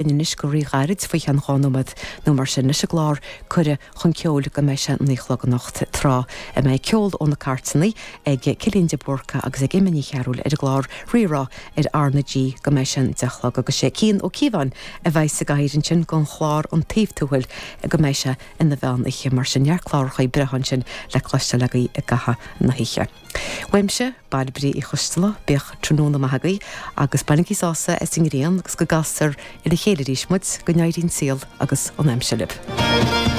Anois go rí-ghairid, faoi cheann 2 nóiméad nó mar sin, leis an gclár Cuireadh chun Ceoil go mbeidh sé 9 a chlog anocht, tráth a mbeidh ceol ó na cairteanna ag Cillian de Búrca agus ag Emma Ní Chearúil ar an gclár Rí-Rá ar R na G go mbeidh sé an 10 a chlog agus sé Cian Ó Cíobháin a bheidh sa gcathaoir ansin don chlár An Taobh Tuathail go mbeidh sé ina mheán oíche. Mar sin neart clárachaí breátha ansin le cloisteáil agaibh i gcaitheamh na hoíche. Uaimse, Bairbre Uí Choisteala, bíodh tráthnóna maith agaibh agus bainigí sásamh as an ngrian agus go gcastar ar a chéile arís muid, go n-éirí an saol agus an aimsir libh.